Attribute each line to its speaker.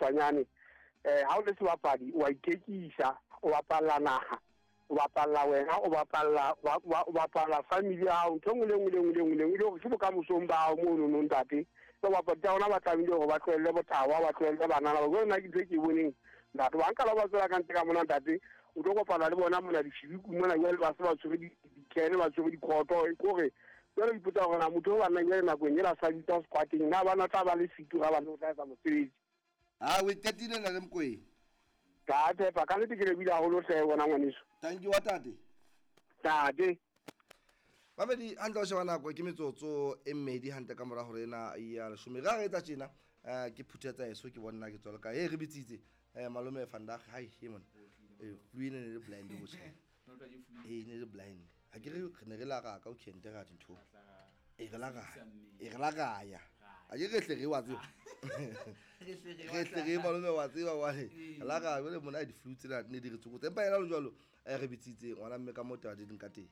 Speaker 1: kgutshwanyane. Ha o le sebapadi wa ithekisa, o bapalla naha, o bapalla wena, o bapalla o bapalla family ya hao, ntho e nngwe le nngwe le nngwe le nngwe le nngwe, e le hore ke bokamosong ba hao mono no ntate. So bapadi tsa rona ba tlamehile hore ba tlohelle botawa, ba tlohelle banana ba. Jwale nna ke ntho e ke e boneng ntate, ba nka la ba tswela ka ntle ka mona ntate, o tlo kopana le bona mona dishibiku mona, jwale ba se ba tshwere di-can, ba tshwere dikhoto, ke hore jwale o ipotsa hore na motho o banna jwale nakong ela sa bitsa squateng, na bana tla ba le fito ga bana o tla etsa mosebetsi.
Speaker 2: A o e qetile na le Mokoena?
Speaker 1: Ka tshepa ka nnete ke lebile haholo hle wena ngwaneso.
Speaker 2: Thank you wa tate.
Speaker 1: Tate.
Speaker 2: Mamedi hantle o sheba nako ke metsotso e mmedi hantle ka mora hore ena ya leshome. Re a re etsa tjena ke phuthetsa eso ke bonna ke tswela ka e re bitsitse malome Vandag hai e mona. Flu ene ne le blind bo tjhe. E ne le blind. Ha ke re re ne re la ka o kente ra dintho. E re la ra. E re la ra ya. A ke re hle re wa tseba. Re hle re malome wa tseba wa re. La ra jwale mona di flu tsena ne di re tsokotsa. Empa yena le jwalo re bitsitse ngwana mme ka motho a di ka teng.